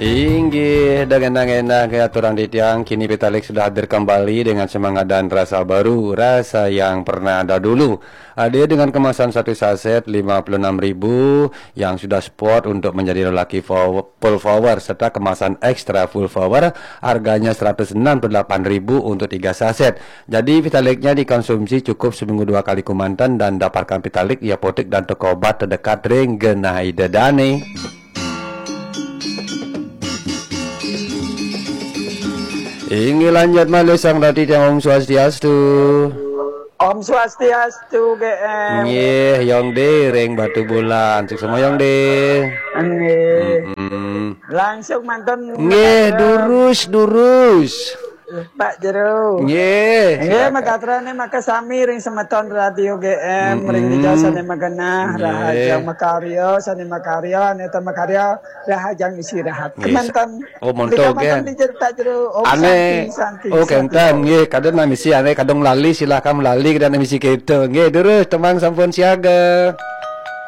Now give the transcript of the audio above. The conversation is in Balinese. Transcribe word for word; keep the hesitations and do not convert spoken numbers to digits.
Inggih, dengan enak ke aturan titiang, kini Vitalik sudah hadir kembali dengan semangat dan rasa baru, rasa yang pernah ada dulu. Hadir dengan kemasan satu saset lima puluh enam ribu yang sudah spot untuk menjadi lelaki full power, serta kemasan ekstra full power, harganya seratus enam puluh delapan ribu untuk tiga saset. Jadi Vitaliknya dikonsumsi cukup seminggu dua kali kumanten dan dapatkan Vitalik di apotek dan toko obat terdekat ring genah Ida dane. Inggih, lanjut malih Sang Rati Tiang, Om Swastiastu. Om Swastiastu, G M. Nggih, Yong De ring Batubulan. Suksma, Yong De. Nggih. Mm-mm. Langsung mantun. Nggih, durus, durus. Pak Jero. Nggih, nggih, silakan. Makatrane makasami ring semeton Radio G M, ring, mm-mm, dija sane magenah, nggih, rahajeng makarya, sane makarya, ane ta makarya, rahajeng istirahat. Nggih, kemanten. Oh, monto, nggih. Kemanten dija, Pak Jero. Om ane, Santi, Santi, oh, Santi. Kenten, nggih, kadang nang misi ane kadang lali, silahkan lali, kadang nang misi keto. Nggih, durus, tembang sampun siaga.